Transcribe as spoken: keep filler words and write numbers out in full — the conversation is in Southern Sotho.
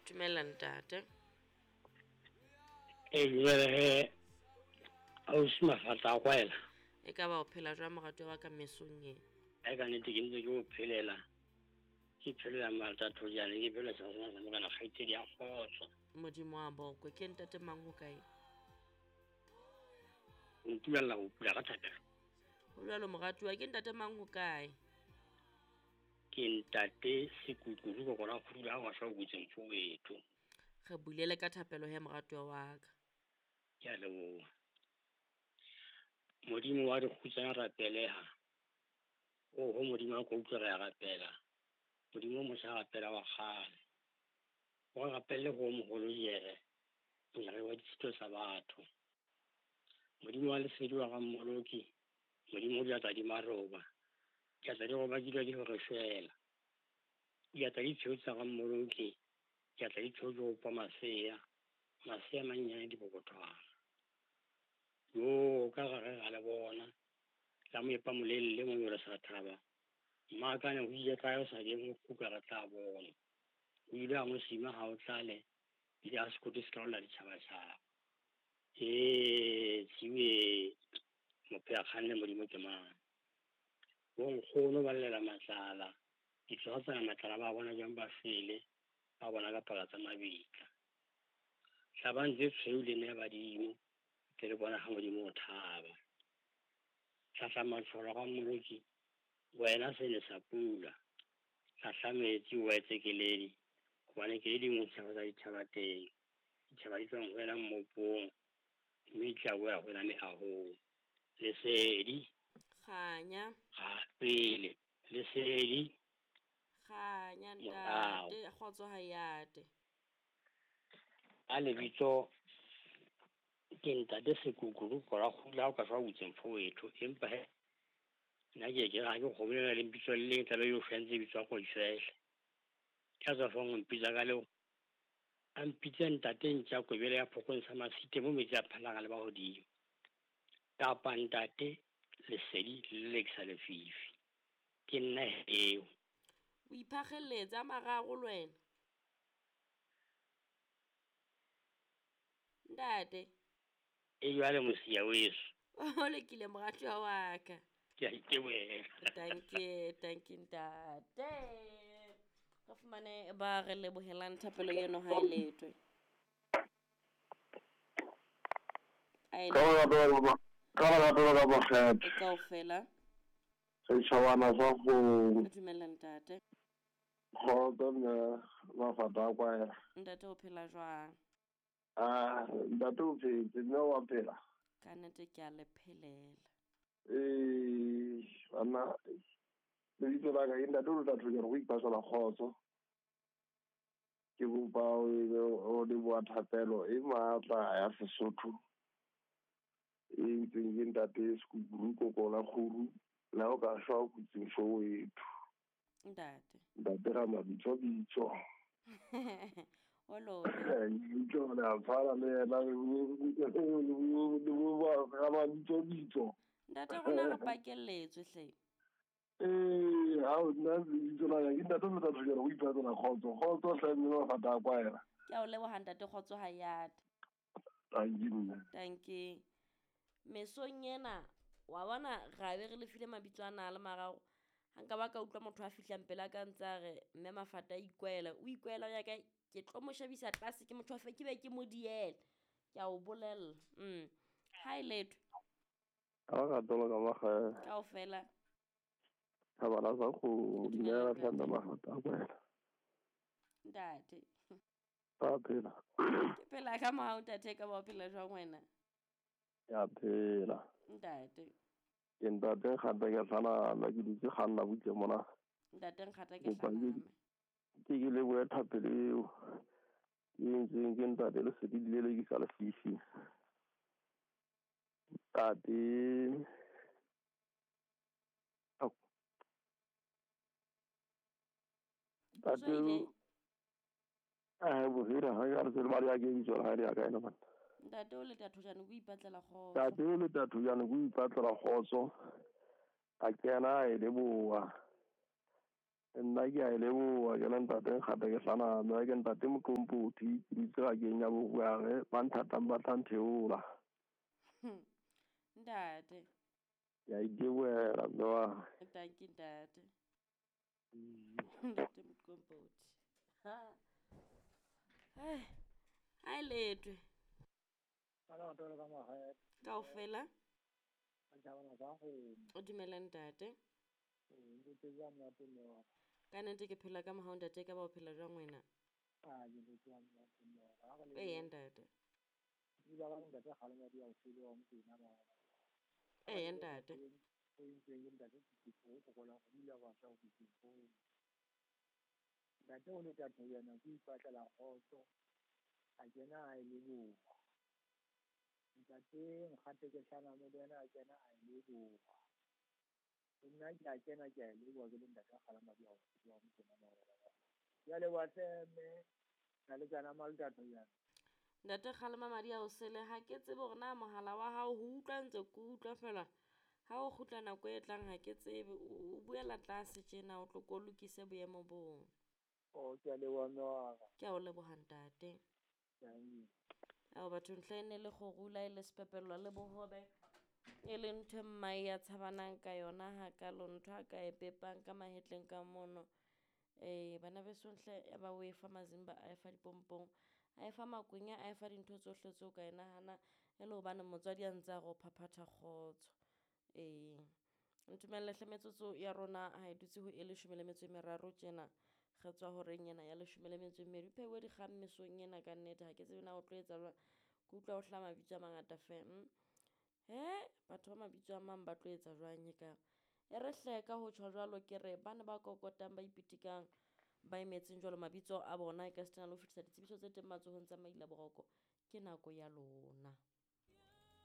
Dumela ntate. E dumela he ausi Mafata a kwaela. E ka ba o phela jwang moratuwa wa ka mesong e? E ka nnete ke ntse ke o phelela. Ke phelela Martha Thojane, ke phelela sena sa morena kgaitsedi ya kgotso. Modimo wa bokwe, ke ntate mang ho kae? O ntumella ho pula ka thapelo. Ho jwalo moratuwa, ke ntate mang ho kae? Ke ntate Sekukuru ko kona kgula ha wa sa o butseng fowetho. Re bulele ka thapelo he moratuwa wa ka. Ke a leboha. Modimo wa dikgutsana rapeleha. Oho Modimo wa ko utlwe re a rapela. Modimo o motjha rapela wa kgale. O rapelle ho moholo jere. Mojari wa ditshito tsa batho. Modimo wa lesedi wa Rammoloki. Modimo o diatla di maroba. Diatla di roba di di hore shwela. Diatla di tshweu tsa Rammoloki. Diatla di tshweu di opa masea. Masea mannyane dipokothwana. Yo ka gare ga le bona. La moepa molelle mo yore sa thaba. Mmakane ho ile kae o sa keng ho kuka re tla bona. O ile a mo sima ha o tlale. Ile a sekoto se ka ola ditjhabatjhaba. Ee, tsiwe mopheya kganne Modimo ke mang. Bo nkgono ba llela matlala. Ditsoga tsena matlala ba bona jwang ba fele. Ba bona ka paka tsa mabitla. Hlabang tse tshweu le ne badimo. Ke le bona ha Modimo o thaba. Hlahla matsholo ga Mmoloki. Wena sene sa pula. Hlahla metsi o etse keledi. Hobane ke le dingwe tshaba tsa ditjhaba teng. Ditjhaba di tswang ho wena mmopong. Mme di tla boela ho wena mehahong. Lesedi. Kganya. Ga pele. Lesedi. Kganya ntate, kgotso ha yate. A lebitso ke ntate Sekukuru ko ra kgula o ka fa butseng fowetho empa he nna ke ke ga ke kgobela le mpitso le leng tlabe yo fentse bitswa go ifehle. Ka tswa fong mpitsa ka leo. A mpitse ntate ntja kobele ya phokong sa masite mo metsi a phalang le ba hodimo. Kapa ntate lesedi le lekisa lefifi. Ke nna eo. O iphakgeletse a mararo le wena. Ntate. E jwale mosia weso. O lekile moratuwa wa ka. Ke a itebohela. Dankie, dankie ntate. Re fumane ba re lebohelang thapelo eno ha e letwe. A e Ka ba ka ba kgetho. E kaofela. Setjhabana sa go. Dumela ntate. Kgotso mme Mafata a kwaela. Ntate o phela jwang? Ah, ntate o phetse, mme wa phela. Ka nnete ke a le phelela. Ee, banna lebitso la ka ke ntate o tla thojana go ipatlela kgotso. Ke kopa o leboha thapelo e matla ya Sesotho. E ntseng ke ntate Sekukuru kokola kguru la o ka shwa o kutseng fowetho. Ntate. Ntate ra mabitso bitso. O lo. Bitso le a tshwana le yena le bo ra mabitso bitso. Ntate rona re pakelletswe hle. Ee, ha o nna lebitso la ka ke ntate o tla thojana go ipatlela kgotso. Kgotso hle mme Mafata a kwaela. Ke a o leboha ntate kgotso ha yate. Tanki mme. Tanki. Mesong ena wa bona ra be re le file mabitso ana a le mararo. Ha nka ba ka utlwa motho a fihlang pela ka ntse a re mme Mafata a ikwela, o ikwela ya ka ke tlo mo shebisa tlase ke motho wa fe ke be ke mo diela. Ke a o bolella. Mm. Ha e letho. Ha ba ka tolo ka makgele. Kaofela. Thabana sa go dumela tlhanda Mafata a kwaela. Ntate. Ba phela. Ke phela ka mohau ntate ka ba phela jwang wena? Ya phela. Ntate. Ke ntate Nkgata ke hlana ke dutse kganna butle mona. Ntate Nkgata ke hlana. Ke ke lebohe thapelo eo. Ke ntseng ke ntate lesedi le lekisa lefifi. Ntate. Ntate. Eh bohira ha ya re tsela ba ya ke bitso la ya ka ena bana. Ntate o le Thojane o ipatlela kgotso. Ntate o le Thojane o ipatlela kgotso. A kena e leboha. Nna ke a e leboha ke le ntate Nkgata ke hlaname ke ntate Moqompothi ke dutse bakeng ya Boruare ba nthatang ba tla ntheola. Ntate. Ke a itebohela mme wa. Dankie ntate. Ntate Moqompothi. Ha. Hai. Hai letwe. Kaofela. O dumela ntate. Ka nnete ke phela ka mohau ntate, ka ba o phela jwang wena? Eya ntate. Eya ntate. Ntate o le tatho yena ke ipatlela kgotso, a kena a e leboha. Ntate Nkgate ke hlaname le yena a kena a e leboha. Nna ke a kena ke a e leboha ke le ntate a kgalema di ao wa motena marobalo. Ya leboha hle mme, na le tsana mal tatho yana. Ntate kgalema madi a o sele, ha ke tsebe hore na mohala wa hao ho utlwa ntse ke utlwa fela. Ha o kgutla nako e tlang ha ke tsebe, o buela tlase tjena o tlo ko lokise boemo boo. Oh, ke a leboha mme wa ka. Ke a o leboha ntate. Ao batho ntlha e ne le kgorula e le sepepello le bohobe e le ntho e mmae ya tshabanang ka yona hakalo, ntho a ka e pepang ka mahetleng ka mono. Eh bana beso nhle ya ba o e fa mazimba, a e fa dipompong, a e fa makwenya, a e fa dintho tsohle tseo ka e nahana e le hobane motswadi a ntse a re o phaphatha kgotso. Eh ntumelle hle metsotso ya rona ha e dutse ho e leshome le metso e meraro tjena. Re tswa horeng ena ya leshome le metso e mmedi. Pheuwe dikgang mesong ena ka nnete, ha ke tsebe na o tlo etsa jwang. Ke utlwa ho hlaha mabitso a mangata fem. He, batho ba mabitso a mang ba tlo etsa jwang ekare. E re hle ka ho tjho jwalo ke re bana ba kokotang ba ipitikang ba emetseng jwalo mabitso a bona e ka sitana le ho fetisa ditsebiso tse teng matsohong tsa maila boroko. Ke nako ya lona.